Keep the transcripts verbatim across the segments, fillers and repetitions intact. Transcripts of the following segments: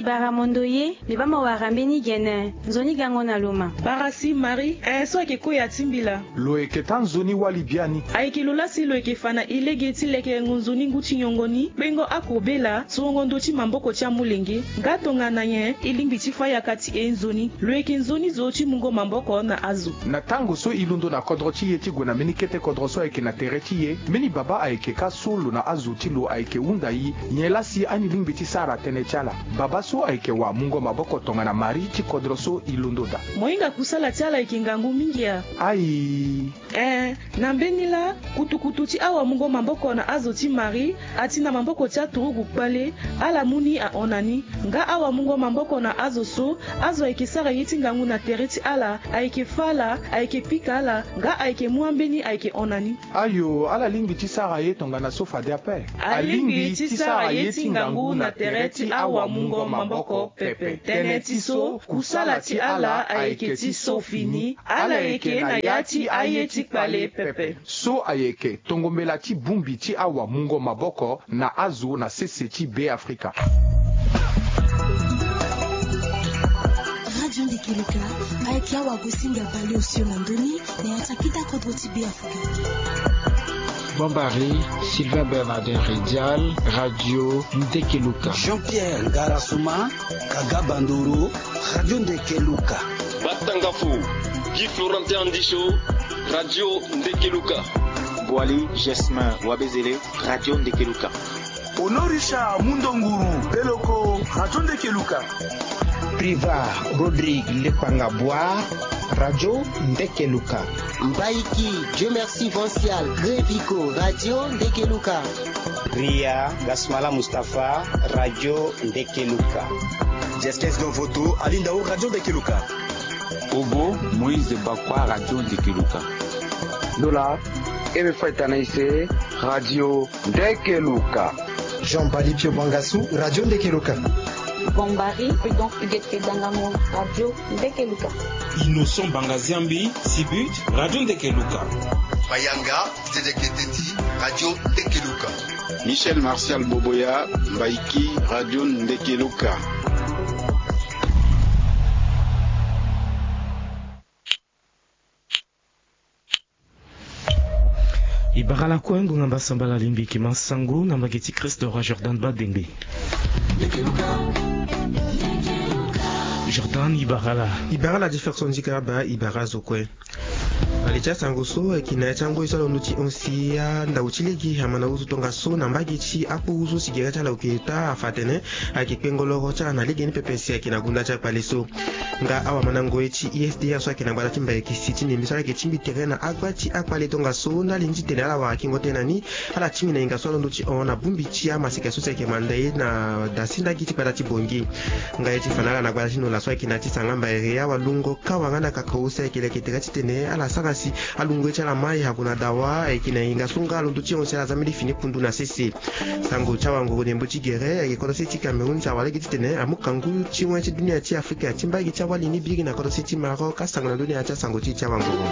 Bara mondo ye, mbi baa mo wara mbeni gene, nzoni gango na lo ma. Bara si Marie, eh, so ayeke koya ti mbila. Lo yeke taa nzoni wali biani. Ayeke lo laa si lo yeke fa na e lege ti lekerengo nzoni ngu ti nyongo ni, kpengo akobela, sorongo ndö ti maboko ti amolenge, nga tongana nyen e lingbi ti fa yaka ti e nzoni. Lo yeke nzoni zo ti mungo maboko na azo. Na tango so e londo na kodro ti e ti gue na mbeni kete kodro so ayeke na tere ti e, mbeni babâ ayeke kâ so lo na azo ti lo ayeke hunda e, nyen laa si ani lingbi ti sara tënë ti ala. Babâ so ayeke wamungo maboko tongana Marie ti kodro so e londo daa. Mo hinga kusala ti ala ayeke ngangu mingi a? Ayi. Eh, na mbeni laa, kutukutu ti awamungo maboko na azo ti Marie, ati na maboko ti aturugu kpale, ala mu ni ahon na ni. Nga awamungo maboko na azo so, azo ayeke sara ye ti ngangu na tere ti ala, ayeke fâ ala, ayeke pika ala, nga ayeke mu ambeni ayeke hon na ni. Ayo, ala lingbi ti sara ye tongana so fade ape. Alingbi ti sara ye ti ngangu na tere ti awamungo maboko pepe. Tënë ti so, kusala ti ala ayeke ti so fini, ala yeke na ya ti aye ti kpale pepe. So ayeke tongombela ti bongbi ti awamungo maboko na azo na sese ti Beafrika. Radio Ndekeluka, ayeke awagosinga baleosio na ndö ni, na ya ti akita kodro ti Beafrika. Bombari, Sylvain Bernardin Ridial, Radio Ndekeluka. Jean-Pierre Ngarasuma, Kaga Bandoro, Radio Ndekeluka. Batangafo, Guy Florentin Andisho, Radio Ndekeluka. Boali Gesmin Wabezele, Radio Ndekeluka. Honorisha Mundonguru Beloko, Radio Ndekeluka. Priva Rodrigue Lepanga Boire, Radio Ndekeluka. Mbaiki Dieu Merci Vancial Grevico, Radio Ndekeluka. Ria Gasmala Mustapha, Radio Ndekeluka. Justus Donvoto, Alindao, Radio Ndekeluka. Obo Moïse Bakwa, Radio Ndekeluka. Dola Eme Faita na Ise, Radio Ndekeluka. Jean Bali Pio Bangasu, Radio Ndekeluka. Bombari Prudent Huguette Dangamo, Radio Ndekeluka. Innocent Bangaziambi, Sibut, Radio Ndekeluka. Mayanga Zedeketeti, Radio Ndekeluka. Michel Martial Boboya, Mbaiki, Radio Ndekeluka. E bara lakue ngonga mbasambala lingbi yeke ma sango na mbage ti Christ, roi Jordan Badengbe. Jordan, e bara laa? E bara laa Jefferson Zikaba, e bara azo kue. Na li ti asango so ayeke na ya ti angoi so alondo ti hon si andau ti lege ama na uzu tongaso na mbage ti akpuru so si gere ti ala oke taa afa atene ayeke kpengo loro ti ala na lege ni pepe si ayeke na gunda ti akpale so. Nga awamandango ye ti U S D A so ayeke na gbata ti Mbaye Kisi ti Ndembe so ala yeke tingbi tere na agba ti akpale tongaso ndali ni titene ala wara kingo tënë na ni, ala tingbi na hinga so alondo ti hon na bongbi ti amaseka so si ayeke manda ye na dasi ndagi ti gbata ti Bangui. Nga ye ti fa na ala na gbata ti Nola so ayeke na ya ti Sangamba Area, awalungo Kawa nga na Kakao so ayeke leke tere titene ala sara si alungo ye ti ala mai ague na dawa, ayeke na hinga so nga alondo ti hon si ala za mbeni fini kundu na sese. Sango ti awangoro ndembo ti gere ayeke kodro se ti Cameroun si awa lege titene amu kangu ti wen ti dunia ti Afrika ti mbage ti awali ni biri na kodro se ti Maroc. Asango na ndö ni na ya ti asango ti e ti awangoro.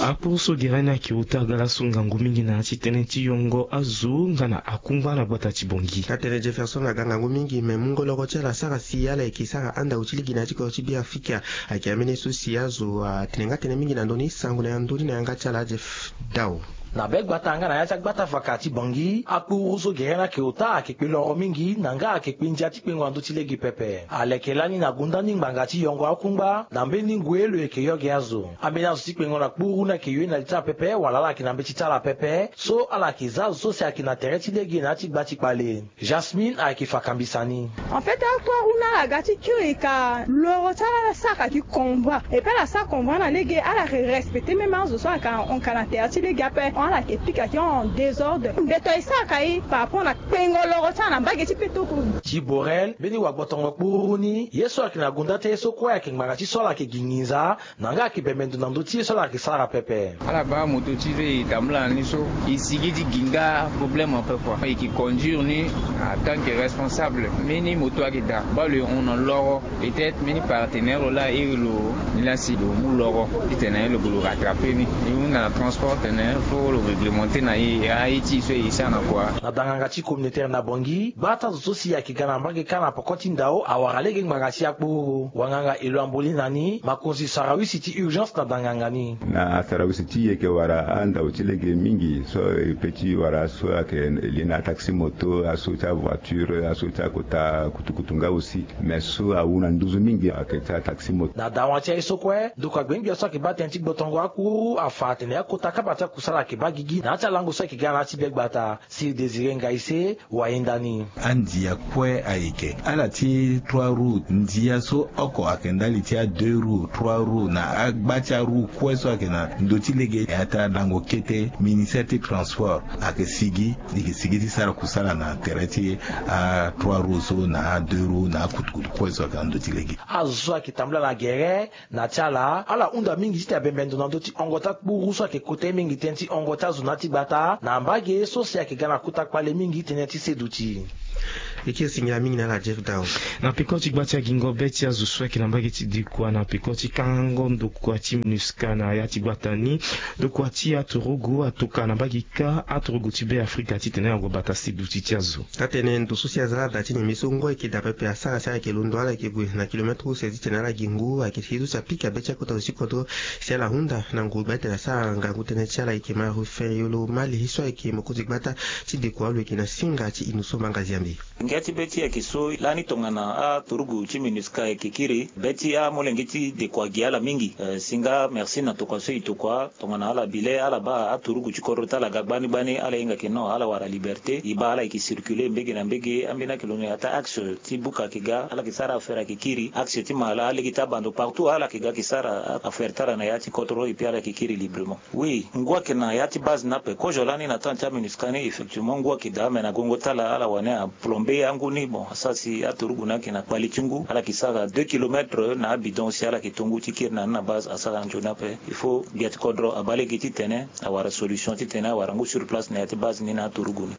Akpuru so gere ni ayeke ota ga laso ngangu mingi na ya ti tënë ti yongo azo nga na akungba na gbata ti Bangui. Atene Jefferson aga ngangu mingi me mungo loro ti ala sara si ala yeke sara andau ti lege na ya ti kodro ti Beafrika. Ayeke ambeni so si azo atene nga tënë mingi na ndö ni. Sango na ya ndö ni na yanga ti ala Jeff Dao. Na be gbata nga na ya ti agbata vaka ti Bangui, akpuru so gere ni ayeke ota ayeke kpe loro mingi na nga ayeke kpe ndia ti kpengo na ndö ti lege pepe. Aleke lani na gunda ni ngbanga ti yongo akungba na mbeni ngoi lo yeke yo gi azo. Ambeni azo ti kpengo na kpuru ni ayeke yo ye na li ti ala pepe wala ala yeke na mbeti ti ala pepe so ala yeke za azo so si ayeke na tere ti lege na ya ti gba ti kpale. Jasmine ayeke fa kambisa ni. En fait, akpuru ni ala ga ti kiri ka loro ti ala ala sara ka gi convoi. Et puis ala sara convoi na lege, ala yeke respecter même azo so ayeke ahon ka na tere ti lege ape. Ala yeke pika ti en désordre. Mbeto e sara ka ye par rapport na kpengo loro ti ala na mbage ti petoko. Ti Borel, mbeni wagbotongo kpuru ni, ye so ayeke na gunda ti ye so kue ayeke ngbanga ti so ala yeke gi nginza. Na nga ayeke bembe ndo na ndö ti ye so ala yeke sara pepe. Ala baa moto ti e e tambula na ni so, e sigi ti gi nga problème ape kua. E yeke conduire ni Atant que responsable, mbeni moto ayeke daa baa lo e hon na loro. Peut-être mbeni partenaire lo laa iri lo ni laa si lo mu loro titene lo gue lo rattraper ni. E hunda na transport tene fo lo réglementer na e aye ti e so e sara na kua. Na danganga ti communautaire na Bangui, gba ti azo so si ayeke ga na mbage kâ na poko ti ndao awara lege ngbanga si akpuru. Wanganga elo amboli na ni makonzi sarawisi ti urgence na danganga ni. Na sarawisi ti e yeke wara andao ti lege mingi so e pe ti wara aso ayeke lie na ataxi moto, aso ti avoiture, aso ti akota kutukutu nga aussi. Mais so awu na nduzu mingi ayeke ti ataxi moto. Na dawa ti aye so kue, ndokua gbengbe so ayeke baa tënë ti gbotongo akuru afa atene akota kapa ti akusala ayeke baa gigi na ya ti alango so ayeke ga na ya ti be gbata. Sir Désiré Ngaïssé, wayenda ni. Andia kue ayeke ala ti trois roues, ndia so oko ayeke ndali ti a deux roues, trois roues na agba ti aroue kue so ayeke na ndö ti lege. Ya ti alango kete, ministère ti transport ayeke sigi, e yeke sigi ti sara kusala na tere ti a trois roues so na a deux roues na akutukutu kue so ayeke na ndö ti lege. Azo so ayeke tambula na gere na ti ala, ala hunda mingi titene abembe ndo na ndö ti hongo ti akpuru so ayeke kota ye mingi tënë ti hongo ti azo na ya ti gbata na mbage so si ayeke ga na kota kpale mingi tënë ti seduti. E kiri singila mingi na ala Jeff Dao. Na peko ti gba ti agingo be ti azo so ayeke na mbage ti dekua na peko ti kangango ndokua ti MINUSCA na ya ti gbata ni, ndokua ti aturugu atoka na mbage kâ aturugu ti Be Afrika titene ague bata seduti ti azo. Atene ndo so si aza ala da ti nyenye so ngu ayeke daa pepe asara si ala yeke londo ala yeke gue na kilomètre use titene ala gi ngu ayeke si so si apika be ti akota zo ti kodro si ala hunda na nguru gba titene asara ngangu tënë ti ala yeke ma rufe yolo mali so ayeke mokonzi gbata ti dekua lo yeke na singa ti ino so manga ziambi. Ngia ti be ti ayeke so lani tongana aturugu ti MINUSCA ayeke kiri be ti amolenge ti dekua gi ala mingi. Eh, singa merci na tokua so e tokua tongana ala bile ala baa aturugu ti kodro ti ala ga gbani gbani ala hinga ke non ala wara liberté e baa ala yeke circuler mbege na mbege ambeni ayeke londo na ya ti axe ti buka ayeke ga ala yeke sara affaire ayeke kiri axe ti mala alege ti abando partout ala yeke ga ayeke sara affaire ti ala na ya ti kodro et puis ala yeke kiri librement. Oui, ngu ayeke na ya ti base ni ape kozo lani na temps ti aMINUSCA ni effectivement ngu ayeke daa me na gongo ti ala ala wani aplombe angu ni bon asara si aturugu ni ayeke na kpale ti ngu ala yeke sara deux kilomètre na abidon si ala yeke to ngu ti kiri na ni na base asara nzoni ape. Il faut gbia ti kodro abaa lege titene awara solution titene awara ngu sur place na ya ti base ni na aturugu ni.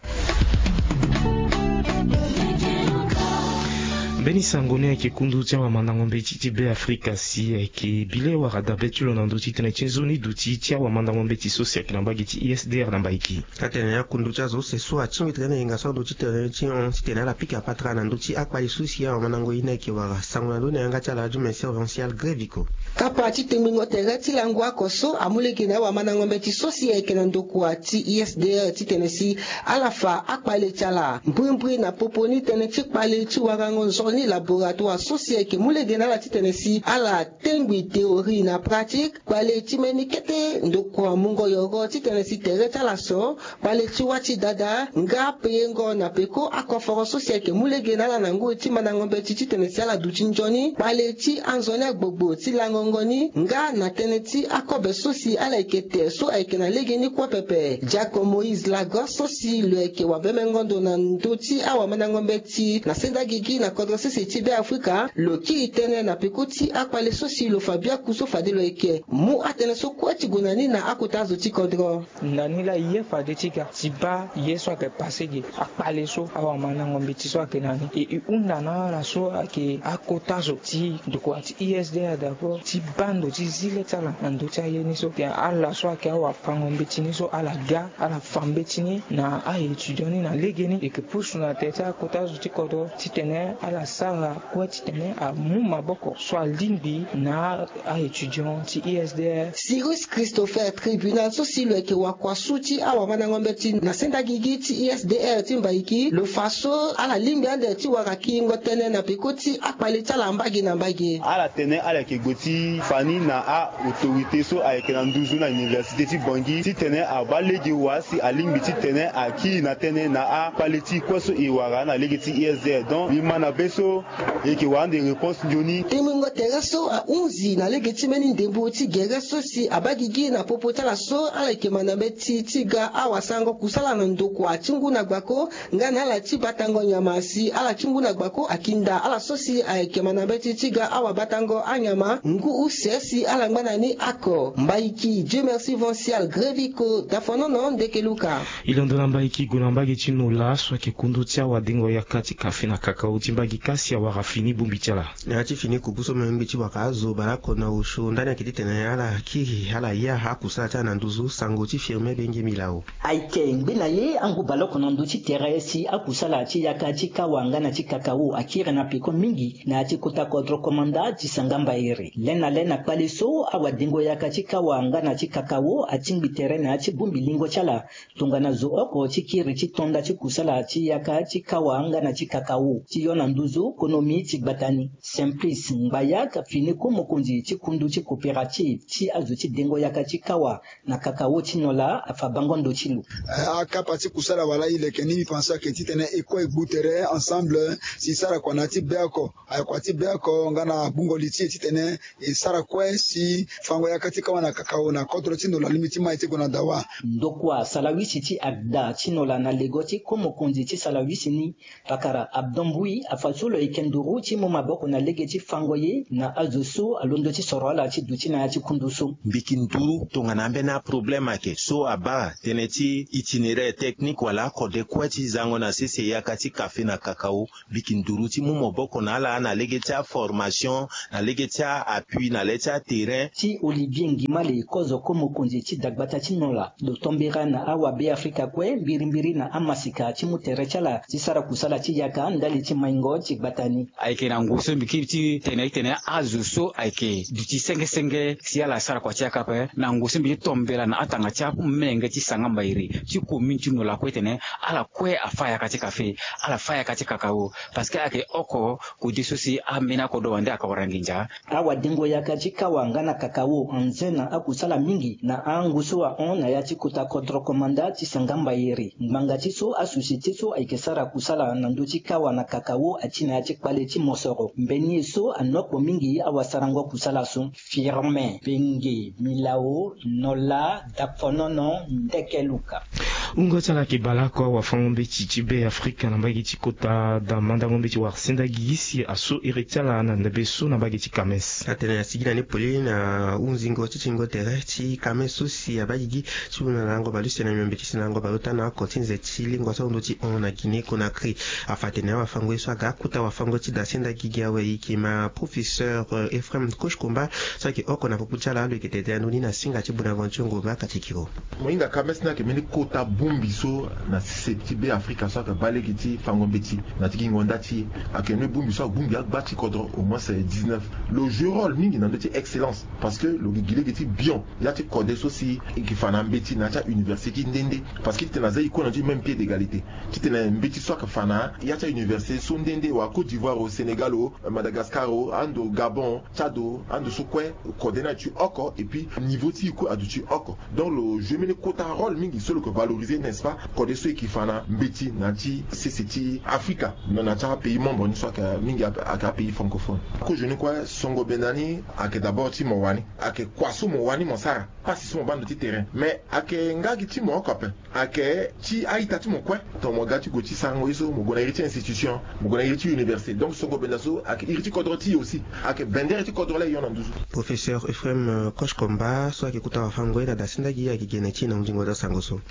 Mbeni sango ni ayeke kundu ti awamandango mbeti ti Be Afrika si ayeke bile wala dabe ti lo na ndö ti tënë ti nzoni duti ti awamandango mbeti so si ayeke na mbage ti I S D R na Mbaiki. Atene akundu ti azo use so atingbi tënë na yenga so na ndö ti tënë ti hon titene ala pika patara na ndö ti akpale so si awamandango ye ni ayeke wara sango na ndö ni na yanga ti ala Dume Serviancial Greviko. Kapa ti tengbingo tere ti lango oko so amu lege na awamandango mbeti so si ayeke na ndokua ti I S D R titene si ala fa akpale ti ala mbrimbri na popo ni tënë ti kpale ti warango nzoni laboratoire so si ayeke mu lege na ala titene si ala tengbi théorie na pratique. Kpale ti mbeni kete ndokua mungo yoro titene si tere ti ala so kpale ti wâ ti dada nga peyengo na peko akoforo so si ayeke mu lege na ala na ngoi ti mandango mbeti titene si ala duti nzoni kpale ti anzoni agbogbo ti langongo ni nga na tënë ti akobe so si ala yeke te so ayeke na legeni kue pepe. Diako Moïse Lagos so si lo yeke wabemengo ndo na ndö ti awamandango mbeti na senda gigi na kodro sese ti Be Afrika lo kiri tënë na peko ti akpale so si lo fa biaku so fade lo yeke mu atënë so kue ti gue na ni na akota azo ti kodro. Na ni laa e ye fade ti ga ti baa ye so ayeke pase ge akpale so awamandango mbeti so ayeke na ni e e hunda na ala so ayeke akota zo ti ndokua ti I S D R d'abord ti baa ndo ti zi le ti ala na ndö ti aye ni so titene ala so ayeke awafango mbeti ni so ala ga ala fa mbeti ni na a-étudiant ni na legeni e yeke pusu na tere ti akota zo ti kodro titene ala sara kue titene amu maboko so alingbi na a-étudiant ti I S D R. Cyrus Christopher, tribunal so si lo yeke wakua su ti awamandango mbeti na senda gigi ti I S D R ti Mbaiki lo fa so ala lingbi ande ti wara kiringo tënë na peko ti akpale ti ala mbage na mbage. Ala tene ala yeke gue ti fa ni na a-autorité so ayeke na nduzu na université ti Bangui titene abaa lege wa si alingbi titene akiri na tënë na akpale ti kue so e wara na lege ti I S D R. Donc mbi ma na be So e yeke wara ande réponse nzoni. Tengbingo tere so ahunzi na lege ti mbeni ndembo ti gere so si abaa gigi na popo ti ala so ala yeke ma na mbeti ti ga awasarango kusala na ndokua ti ngu na gbako nga na ala ti batango nyama si ala ti ngu na gbako akinda ala so si ayeke ma na mbeti ti ga awabatango anyama ngu use si ala ngba na ni ako. Mbaiki Dieu merci Vancial Greviko, dafonono ndeke luka. E londo na mbaiki gue na mbage ti Nola so ayeke kundu ti awadengo yaka ti kafe na kakao ti mbage kasi awara fini bongbi ti ala. Na ya ti fini kuku so mengbi ti waka azo baleoko na osio ndani ayeke titene ala kiri ala ya akusala ti ala na nduzu sango ti Firmin Benge Milao. Ayeke ngbe na ye angu baleoko na ndö ti tere si akusala ti yaka ti kawa nga na ti kakao akiri na peko mingi na ya ti kota kodro komanda ti sanga mbairi le na le na kpale so awadengo yaka ti kawa nga na ti kakao atingbi tere na ya ti bongbi lingo ti ala tongana zo oko ti kiri ti tonda ti kusala ti yaka ti kawa nga na ti kakao ti yo na nduzu konomi ti gbata ni. Simplice Ngbayak fini ko mokonzi ti kundu ti coopérative ti azo ti dengo yaka ti kawa na kakao ti Nola afa bango ndo ti lo. Eh, akapa ti kusala wala e leke ni mbi pense ayeke titene e kue e gbu tere ensemble si e sara kua na ya ti be oko, ayakua ti be oko nga na gbungo li ti e titene e sara kue si fango yaka ti kawa na kakao na kodro ti Nola lingbi ti mai ti gue na dawa. Ndokua salawisi ti agda ti Nola na lego ti ko mokonzi ti salawisi ni, pakara Abdon Bouy afa so lo yeke nduru ti mu maboko na lege ti fango ye na azo so alondo ti soro ala ti duti na ya ti kundu so. Mbi yeke nduru tongana ambeni aproblème ayeke so abaa tënë ti itinéraire technique wala akode kue ti zango na sese yaka ti kafe na kakao. Mbi yeke nduru ti mu maboko na ala na lege ti aformation, na lege ti a-appui na le ti aterrain. Ti Olivier Ngimale kozo ko mokonzi ti dagbata ti Nola lo tombera na awabeafrika kue mbirimbiri na amasika ti mu tere ti ala ti sara kusala ti yaka ndali ti maingo ti gbata ni. Ayeke na ngu so mbi kiri ti tene titene azo so ayeke duti senge senge si ala sara kua ti yaka ape na ngu so mbi ti tombela na atanga ti amenge ti sanga mbairi ti commune ti Nola kue titene ala kue afa yaka ti kafe, ala fa yaka ti kakao. Parce que ayeke oko kode so si ambeni akodro wande ayeke wara nginza. Awadengo yaka ti kawa nga na kakao anze na akusala mingi na angu so ahon na ya ti kota kodro komanda ti sanga mbairi ngbanga ti so asosiete so ayeke sara kusala na ndö ti kawa na kakao ati na ya ti kpale ti mosoro mbeni ye so anokpo mingi awasarango kusala so. Firmin Benge Milao, Nola, daponono ndeke luka. Wungo ti ala yeke baleoko awafango-mbeti ti Be Afrika na mbage ti kota da mandango-mbeti wara sendagi si aso iri ti ala na ndembe so na mbage ti Kames. Atene asigi na ni poli na hunzingo ti tingo tere ti Kames so si abaa gigi ti hu na lango baleuse na miombe ti si na lango baleota na oko ti nze ti lingua so ahundu ti hon na Guinée Conakry. Afa atene awafango ye so aga akota wafango ti da sendagi gi awe e yeke ma professeur Ephraim Koshkomba so ayeke oko na popo ti ala alo yeke tete ando ni na singa ti Bonaventure Ngomba Katikiro. Mo hinga Kames ni ayeke mbeni kota bongbi so na sese ti Be Afrika so ayeke baa lege ti fango mbeti na ti gingo nda ti e. Ayeke mbeni bongbi so abongbi agba ti kodro au moins dix-neuf. Lo joue rôle mingi na ndö ti excellence parce que lo gi lege ti bion ya ti kode so si e yeke fa na mbeti na ya ti auniversité ti nde nde. Parce que titene aza e kue na ti même pied d'égalité. Titene mbeti so ayeke fa na ya ti auniversité so nde nde wala Côte d'Ivoire o, Sénégal o, Madagascar o, ando Gabon, Tchad o, ando so kue kode ni aduti oko et puis niveau ti e kue aduti oko. Donc lo joue mbeni kota rôle mingi so lo yeke valoriser, n'est-ce pas, kode so e yeke fa na mbeti na ya ti sese ti Afrika, na ya ti apays membre ni so ayeke mingi ayeke apays francophone. Kozo ni kue songo benda ni ayeke d'abord ti mo wani, ayeke kua so mo wani mo sara, pasi so mo baa na ndö ti terrain. Mais ayeke nga gi ti mo oko ape. Ayeke ti a-ita ti mo kue. Tongana mo ga ti gue ti sarango ye so mo gue na iri ti institution, mo gue na iri ti université. Donc songo benda so ayeke iri ti kodro ti e aussi. Ayeke bendere ti kodro laa e hon na nduzu. Professeur Ephraim Koshkomba so ayeke kota wafango ye na da sendagi ayeke gene ti e na hunzingo ti asango so.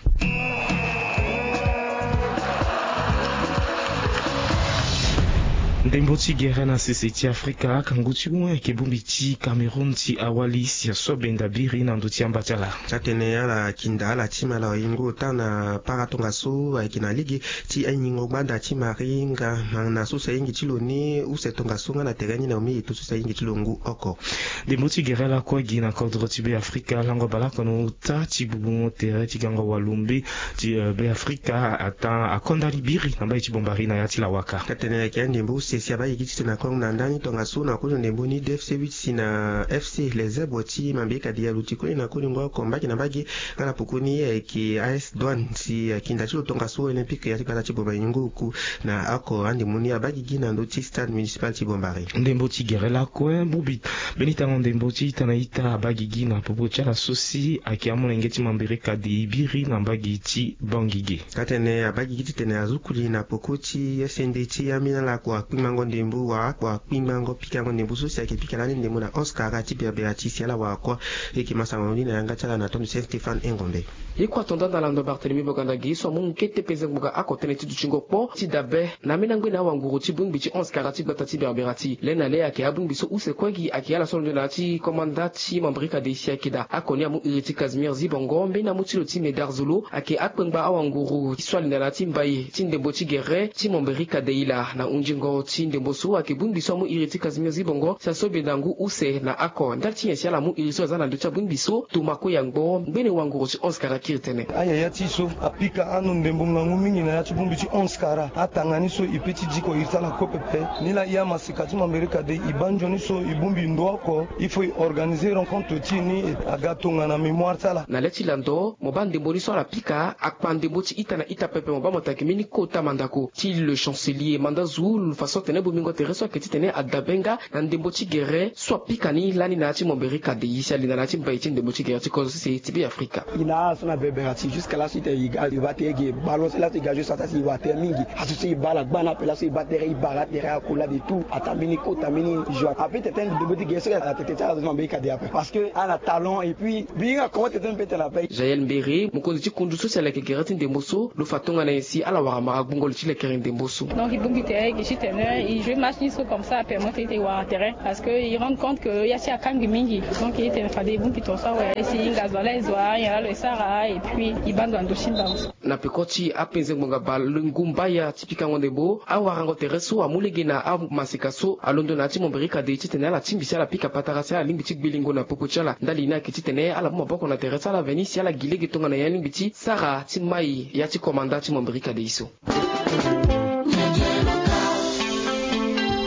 Ndembo ti gere na sese ti Afrika, kangu ti wen ayeke bongbi ti Cameroun ti awali si aso benda biri na ndö ti amba ti ala. Atene ala kinda ala ti mala waingo ota na para tongaso ayeke na lege ti anyingo gbanda ti maringa na so si ahingi ti lo ni use tongaso nga na tere ni na omi eto so si ahingi ti lo ngu oko. Ndembo ti gere lakue gi na kodro ti Be Afrika lango baleoko na ota ti bubu tere ti gango walumbe ti Be Afrika ata akonda libiri na mbai ti bombari na ya ti lawaka. Atene ayeke andembo use Si abaa gigi ti tene na kongo na ndani tongaso na kozo ndembo ni D F C huit si na F C Les Zèbres ti Mambérika Déï aluti kue na kolingo oko mbage na mbage. Nga na pokoni ayeke A S Douane si akinda ti lo tongaso Olympique ya ti gbata ti Bambaréné ngu oku na oko andembo ni abaa gigi na ndö ti stade municipal ti Bambaréné. Ndembo ti gere lakue bongbi mbeni tango ndembo ti ita na ita abaa gigi na popo ti ala so si ayeke amolenge ti Mambérika Déï biri na mbage ti Bangui ge. Atene abaa gigi titene azukuli na poko ti S N D ti ambeni ala kua kpingbango ndembo wala kua kpingbango pikango ndembo so si ayeke pika lani ndembo na onze kara ti berbera ti si ala wara kua. Eke ma sango ni na yanga ti ala na tondu ti Saint Stéphane Engombe. Ye kua tonda na lando Barthélemy Boganda ge so amu nkete penze ngbonga oko tënë ti dutingo kpo ti dabe na ambeni angbe na awanguru ti bongbi ti onze kara ti gbata ti berbera ti le na le ayeke abongbi so use kue gi ayeke ala so londo na ya ti komanda ti Mambérika Déï si ayeke daa oko ni amu iri ti Casimir Zibongo mbeni amu ti lo ti Médard Zolo ayeke akpengba awanguru so alinda na ya ti mbai ti ndembo ti gere ti Mambérika Déï laa na hundingo ti ndembo so ayeke bongbi so amu iri ti Casimir Zibongo si aso benda ngu use na oko ndali ti nyen si ala mu iri so aza na ndö ti abongbi so. Toma kue yangbo ngbene wanguru ti onze kara kiri tënë. Ayaya ti so apika anu ndembo ngangu mingi na ya ti bongbi ti onze kara atanga ni so e pe ti diko iri ti ala kue pepe. Ni laa e amasika ti Mambérika Déï e baa nzoni so e bongbi ndo oko il faut e organiser rencontre ti e ni aga tongana mémoire ti ala. Na le ti lando mo baa ndembo ni so ala pika akpa ndembo ti ita na ita pepe mo baa mo taki mbeni kota mandako ti le chancelier manda zu lo fa so atene bongbingo tere so ayeke titene adabe nga na ndembo ti gere so apika ni lani na ya ti Mambérika Déï si alinda na ya ti mbai ti ndembo ti gere ti kozo sese ti Beafrika. E na ala so na berbera ti jusque là so e tene e ga e baa tere ge ballon so laso e ga juste ataa si e wara tere mingi. Aso so e baa ala gba na ape laso e baa tere e bara tere akula de tout ataa mbeni kota mbeni joie ape tete ndembo ti gere so atete ti ala so na Mambérika Déï ape parce que ala na talent et puis mbi hinga comment tete mbi pe tene ape. Jaël Mbere mokonzi ti kundu so si aleke gere ti ndembo so lo fa tongana nyen si ala wara mara gbungo li ti lekere ndembo so. Donc e bongbi tere e gi titene e joue match ni so comme ça apermettre e titene e wara tere parce que e rendre compte que ya ti akangbi mingi. Donc e tene fade e bongbi tongaso awe e si e hinga zo ala e zo anyen laa lo e sara et puis e baa ndo na ndö ti mbango. Na peko ti apenze ngbonga bale ngu mbaya ti pikango ndembo awarango tere so amu lege na amaseka so alondo na ya ti Mambérika Déï titene ala tingbi si ala pika patara si ala lingbi ti gbelingo na popo ti ala ndali ni ayeke titene ala mu maboko na tere ti ala veni si ala gi lege tongana nyen alingbi ti sara ti mai ya ti komanda ti Mambérika Déï so.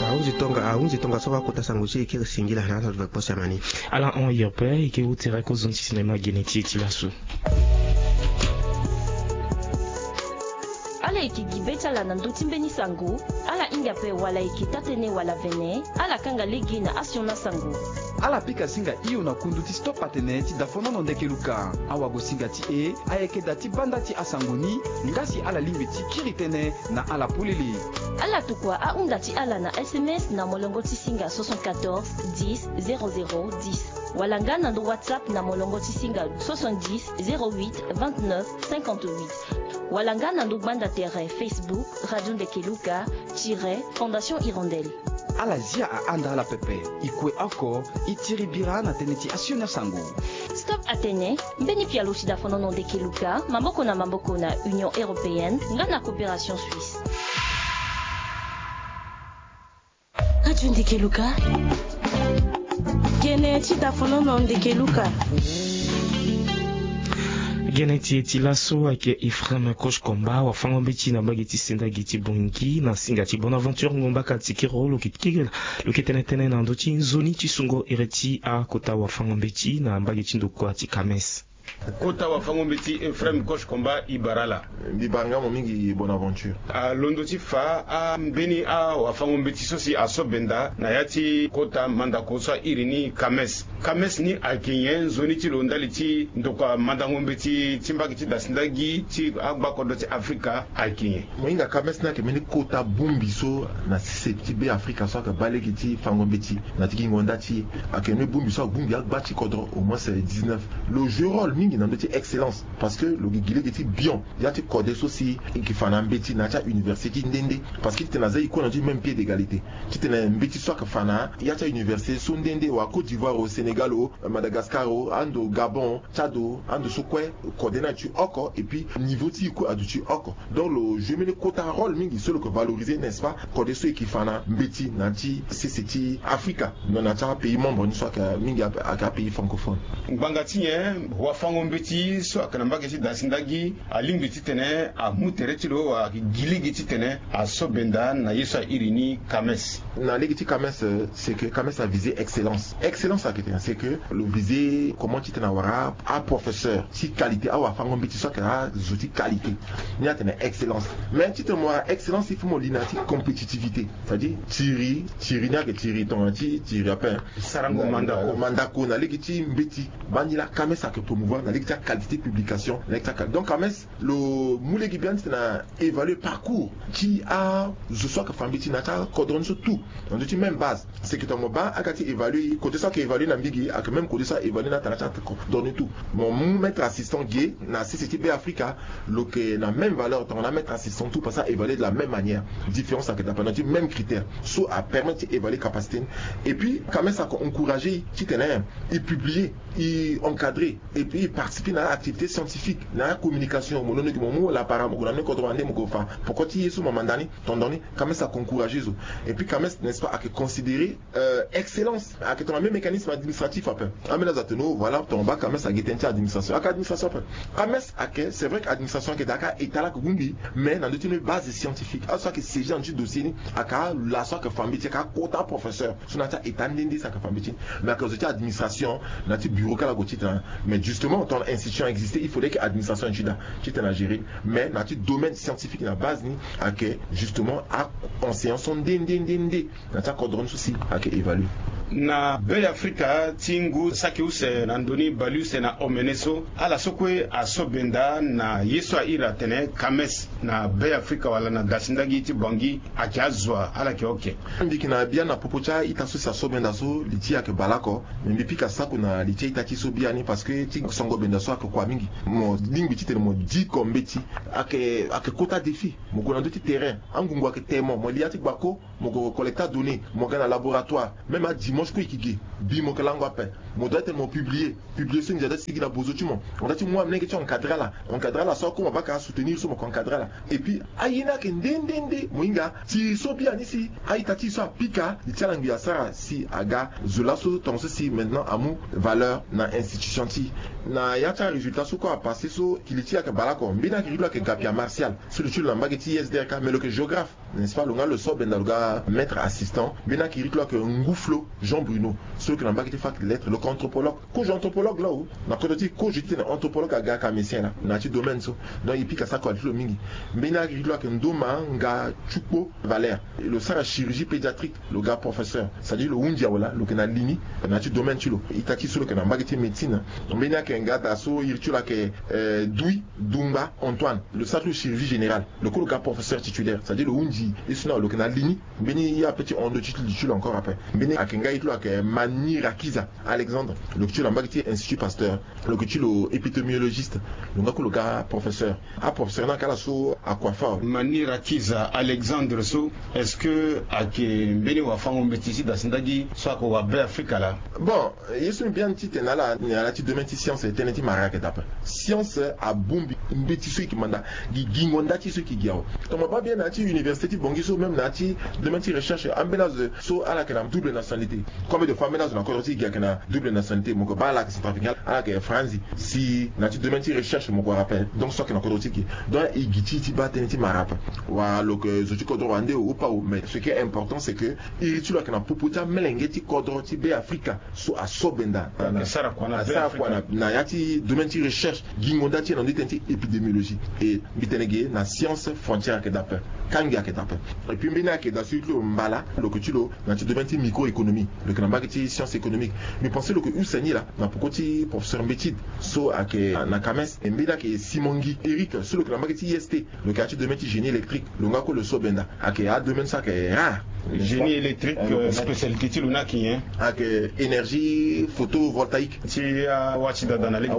Ahunzi tonga ahunzi tongaso wakota sango ti e kiri singila na ala lo ve kpo siama ni. Ala hon iri ape e ke hu tere kozo ni ti sinema gene ti e ti laso. Ala yeke gi be ti ala na ndö ti mbeni sango. Ala hinga ape wala e yeke taa-tënë wala vene. Ala kanga lege na asioni asango. Ala pika singa hio na kundu ti stop atene ti dafonono ndeke luka. Awagosinga ti e ayeke daa ti banda ti asango ni. Nga si ala lingbi ti kiri tënë na ala polele. Ala tokua ahunda ti ala na S M S na molongo ti singa soixante-quatorze dix zéro zéro dix wala nga na ndo WhatsApp na molongo ti singa soixante-dix zéro huit vingt-neuf cinquante-huit wala nga na ndo gbanda tere Facebook Radio Ndeke Luka tiret Fondation Hirondelle. Ala zia ahanda ala pepe. E kue oko e tiri bira na tënë ti asioni asango. Stop atene mbeni pialo ti dafonono ndeke luka maboko na maboko na Union Européenne nga na Coopération Suisse. Radio Ndeke Luka. Gene ti dafonono ndeke luka. Gene ti e ti laso ayeke Ephraim Kosh Komba wafango-mbeti na mbage ti senda gi ti Bangui na singa ti Bonaventure Ngombaka Tikiro lo yeke tene tënë na ndö ti nzoni ti sungo iri ti akota wafango-mbeti na mbage ti ndokua ti Kames. Kota wafango-mbeti Ephraim Kosh Komba e bara ala. Mbi bara nga mo mingi Bonaventure. Alondo ti fa ambeni awafango-mbeti so si aso benda na ya ti kota mandako so airi ni Kames. Kames ni ayeke nyen? Nzoni ti lo ndali ti ndokua mandango-mbeti ti mbage ti dasi ndagi ti agbakodro ti Afrika ayeke nyen? Mo hinga Kames ni ayeke mbeni kota bongbi so na sese ti Beafrika so ayeke baa lege ti fango-mbeti na ti gingo nda ti e. Ayeke mbeni bongbi so abongbi agba ti kodro au moins dix-neuf. Lo joue rôle mingi na ndö ti excellence parce que lo gi gi lege ti bion ya ti kode so si e yeke fa na mbeti na ya ti auniversité ti nde nde. Parce que titene aza e kue na ndö ti même pied d'égalité. Titene mbeti so ayeke fa na ya ti auniversité so nde nde wala Côte d'Ivoire o, Sénégal o, Madagascar o, ando Gabon o, Tchad o, ando so kue kode ni aye ti oko et puis niveau ti e kue aduti oko. Donc lo joue mbeni kota rôle mingi so lo yeke valoriser n'est-ce pas kode so e yeke fa na mbeti na ya ti sese ti Afrika. Donc na ya ti apays membre ni so ayeke mingi ayeke apays francophone. Ngbanga ti nyen wafango mbeti so ayeke na mbage ti dasi ndagi alingbi titene amu tere ti lo wala ayeke gi lege titene asobenda na ye so airi ni. Kames, na lege ti kames, c'est que kames avise excellence. Excellence ayeke tene c'est que lo vise comment titene awara aprofesseur ti qualité, awafango mbeti so ayeke azo ti qualité. Ni atene excellence. Mais titene mo wara excellence il faut mo li na ya ti compétitivité, c'est-à-dire tiri tiri ni ayeke tiri tongana ti tiri ape sarango mandako mandako na lege ti mbeti. Baa ni laa kames ayeke promouvoir na lege ti aqualité publication na lege ti aqualité. Donc kames lo mu lege biani titene a évaluer parcours ti azo so ayeke fa mbeti na ya ti akodro ni so tout na ndö ti même base. C'est que tongana mo baa aga ti évaluer côté so ayeke évaluer na mbigi ayeke même côté so a évaluer na atanga ti akodro ni tout. Mo mu maître assistant ge na sese ti be africa, lo yeke na même valeur tongana maître assistant tout parce que a évaluer de la même manière. Différence ayeke dape na ti même critère so apermettre ti évaluer capacité ni. Et puis kames ayeke encourager titene e publier, e encadrer et puis e participer na activité scientifique na communication. Mo londo gi mo mu lapara mo gue na ni kodro wande mo gue fa poko ti ye so mo manda ni. Tondon ni kames ayeke encourager zo. Et puis kames n'est-ce pas ayeke considérer excellence ayeke tongana même mécanisme administratif ape. Ambeni azo atene o voilà tongana baa kames agi tënë ti administration ayeke administration ape. Kames ayeke c'est vrai que administration ayeke daa ka état laa ayeke bongbi. Mais na ndö ti ni base scientifique azo so ayeke saisie na ndö ti dossier ni ayeke ala so ayeke fa mbeti ayeke akota professeur so na ya ti a-état nde nde so ayeke fa mbeti ni. Mais ayeke zo ti administration na ya ti bureau kala gue titene mais justement tongana institution existe il faudrait que administration ni ti daa titene agérer ni. Mais na ya ti domaine scientifique na base ni ayeke justement a-enseignant so nde nde nde nde na ti akodro ni so si ayeke évaluer. Na be afrika ti ngu saki use na ndoni baleuse na omene so ala so kue asobenda na ye so airi atene kames na be afrika wala na dasi ndagi ti bangi ayeke azo wa ala yeke oke. Mbi yeke na biani na popo ti a-ita so si asobenda so li ti e ayeke baleoko. Me mbi pika sako na li ti a-ita ti e so biani parce que ti songo benda so ayeke kua mingi. Mo lingbi titene mo diko mbeti ayeke kota défi. Mo gue na ndö ti terrain angungu ayeke te mo mo li ya ti gbako. Mo gue collecter données mo ga na laboratoire même adimanche kue e yeke ge. Bi mo yeke lango ape. Mo doit tene mo publier. Publier so ndia doit ti sigi na bozo ti mo. Mo doit ti mu amolenge ti encadrer ala. Encadrer ala so akoma baka asoutenir so mo yeke encadrer ala. Et puis aye ni ayeke nde nde nde mo hinga ti so biani si a-ita ti e so apika li ti ala ngbi asara si aga zo laso tongaso si maintenant amu valeur na institution ti e. Na ya ti arésultat so kue apasse so kili ti e ayeke baleoko mbeni akiri ti lo ayeke gapia martial so lo ti lo na mbage ti isdrk mais lo yeke géographe. N'est-ce pas lo nga lo so benda lo ga maître assistant mbeni akiri ti lo ayeke nguflo jean bruno so lo yeke na mbage ti fac de lettre lo yeke anthropologue. Kozo anthropologue laa o na kodro ti e kozo titene anthropologue aga kamesien laa na ya ti domaine so. Donc e pika sako ali ti lo mingi. Mbeni akiri ti lo ayeke ndoma nga tukpo valère lo sara chirurgie pédiatrique lo ga professeur c'est-à-dire lo hunzi awe laa lo yeke na li ni na ya ti domaine ti lo. Ita ti e so lo yeke na mbage ti médecine. Mbeni ayeke nga daa so iri ti lo ayeke dui dungba antoine lo sara ti lo chirurgie générale. Lo kue lo ga professeur titulaire c'est-à-dire lo hunzi ye so ni awe lo yeke na li ni. Mbeni ye ape ti hon ndö ti li ti lo encore ape. Mbeni ayeke nga ye ti lo ayeke mani rakiza alexandre lo yeke ti lo na mbage ti institut pasteur. Lo yeke ti lo épidémiologiste. Lo nga kue lo ga professeur. Aprofesseur ni ayeke ala so akua fort. Mani rakiza alexandre so est-ce que ayeke mbeni wafango mbeti ti dasi ndagi so ayeke wa be afrika laa? Bon, ye so mbi biani titene ala na ala ti domaine ti science tënë ti mara ayeke dape. Science abongbi mbeti so e yeke manda gi gingo nda ti e so e yeke gi awe. Tongana mo baa bien na ya ti université ti bongi so même na ya ti domaine ti recherche ambeni azo so ala yeke na double nationalité. Combien de fois ambeni azo na kodro ti e gi ayeke na double nationalité mo yeke baa ala yeke centrafricain ala yeke franzi. Si na ya ti domaine ti recherche mo gue wara ape donc so ayeke na kodro ti e gi donc e gi ti e ti baa tënë ti mara ape. Wala lo yeke zo ti kodro wande o opa o mais ce qui est important c'est que iri ti lo ayeke na popo ti amolenge ti kodro ti be afrika so aso benda asara kua na ya ti domaine ti recherche gingo nda ti e na ndö ti tënë ti épidémiologie. E mbi tene ge na science frontière ayeke dape. Kangi ayeke dape. Et puis mbeni ayeke daa so iri ti lo mbala lo yeke ti lo na ya ti domaine ti micro-économie. Lo yeke na mbage ti science économique. Mbi pense lo yeke use ni laa na poko ti professeur mbetide so ayeke na kames e mbeni ayeke simongi éric so lo yeke na mbage ti ist. Lo yeke na ya ti domaine ti génie électrique lo nga kue lo so benda. Ayeke adomaine so ayeke rare. Génie électrique spécialité ti lo ni ayeke nyen? Ayeke énergie photovoltaïque ti awati dada na lege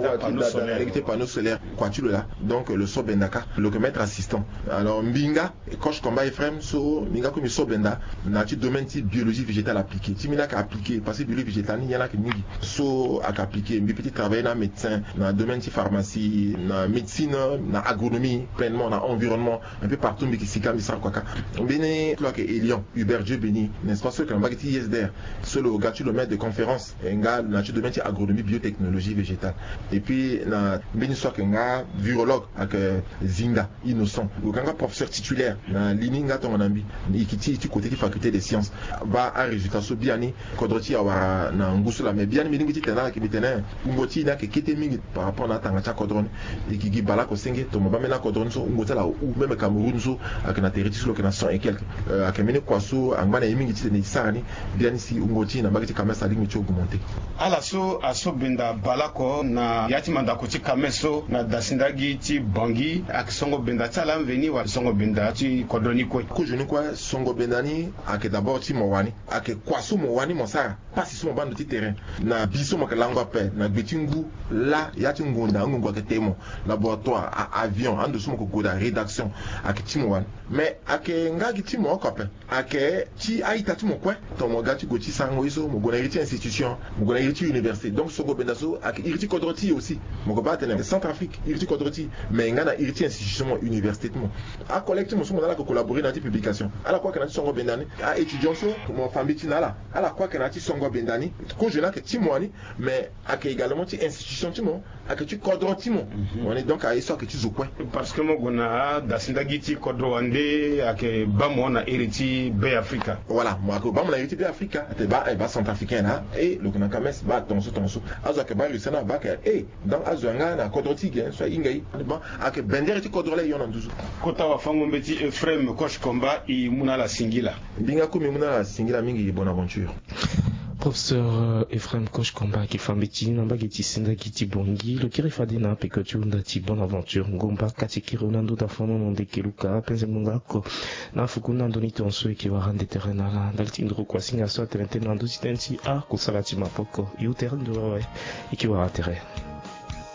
ti apanneau solaire. Kua ti lo laa. Donc lo so benda kâ lo yeke maître assistant. Alors mbi nga coche combat efraim so mbi nga kue mbi so benda na ya ti domaine ti biologie végétale appliquée ti mbi ni ayeke appliquée parce que biologie végétale ni nyen la ayeke mingi. So ayeke appliquée mbi pe ti travailler na amédecin na domaine ti pharmacie na médecine na agronomie pleinement na environnement. Un peu partout mbi yeke sika mbi sara kua kâ. Mbeni ti lo ayeke élian. Père Dieu Béni, n'est-ce pas, so ayeke na mbage ti I S D R, so lo ga ti lo maître de conférence, e nga na ti domaine ti agronomie, biotechnologie végétale. Et puis na mbeni so ayeke nga virologue ayeke Zinga Innocent, lo ga nga professeur titulaire na li ni nga tongana mbi. E yeke ti e ti côté ti faculté des sciences. Baa arésultat so biani kodro ti e awara na ngu so laa, mais biani mbi lingbi titene ala yeke mbi tene wungo ti e ni ayeke kete mingi par rapport na atanga ti akodro ni. E yeke gi baleoko senge tongana baa mbeni akodro ni so wungo ti ala ahu, même Cameroun so ayeke na tere ti so lo yeke na cent et quelque. Euh, ayeke mbeni kua so angba na e mingi titene e sara ni. Biani si wungo ti e na mbage ti Kames alingbi ti augmenter. Ala so aso benda baleoko na ya ti mandako ti Kames so na dasindagi ti Bangui, ayeke songo benda ti ala mveni wala songo benda ti kodro ni kue? Kozo ni kue, songo benda ni ayeke d'abord ti mo wani. Ayeke kua so mo wani mo sara, pasi so mo baa ndo ti terrain, na bi so mo yeke lango ape na gbe ti ngu laa, ya ti ngonda angongo ayeke te mo, laboratoire, a- avion, ando so mo yeke gue daa, rédaction, ayeke ti mo wani. Mais ayeke nga gi ti mo oko ape. Ayeke ti a-ita ti mo kue. Tongana mo ga ti gue ti sarango ye so, mo gue na iri ti institution, mo gue na iri ti université. Donc songo benda so ayeke iri ti kodro ti e aussi. Mo yeke baa atene Centrafrique iri ti kodro ti e, mais e nga na iri ti institution ti mo, université ti mo. Acollègue ti mo so mo na ala yeke collaborer na ya ti publication, ala kue ayeke na ya ti songo benda ni. Aétudiant so mo fa mbeti na ala, ala kue ayeke na ya ti songo benda ni. Kozo ni ayeke ti mo wani, mais ayeke également ti institution ti mo, ayeke ti kodro ti mo. Mhm. Wani donc aye so ayeke ti zo kue. Parce que mo gue na adasindagi ti kodro wande ayeke baa mo na iri ti Be Afrika. Voilà, mo ayeke baa mo na iri ti Be Afrika. Ate baa, eh, baa centrafricain laa, eh, lo yeke na Kames, baa tongaso tongaso. Azo ayeke baa Russie na baa ayeke, eh, donc azo yanga na kodro ti e ge so ahinga e. Bon, ayeke bendere ti kodro laa e hon na nduzu. Kota wafango-mbeti Ephraim Kosh Komba, e mu na ala singila. Mbi nga ku mbi mu na ala singila mingi, bonne aventure. Professeur, euh, Ephraim Kosh Komba, ayeke fa mbeti na mbage ti sindagi ti Bangui. Lo kiri fade na peko ti hunda ti bonne aventure. Ngomba kati kiri na ndo da fono na ndeke luka penze munga oko na fuku na ndo ni tonso e yeke wara nde tere na ala ndali ti nduru kuasinga so atene tënë na ndö ti tënë ti akusala ti maboko. E hu tere ndo awe, e yeke wara tere.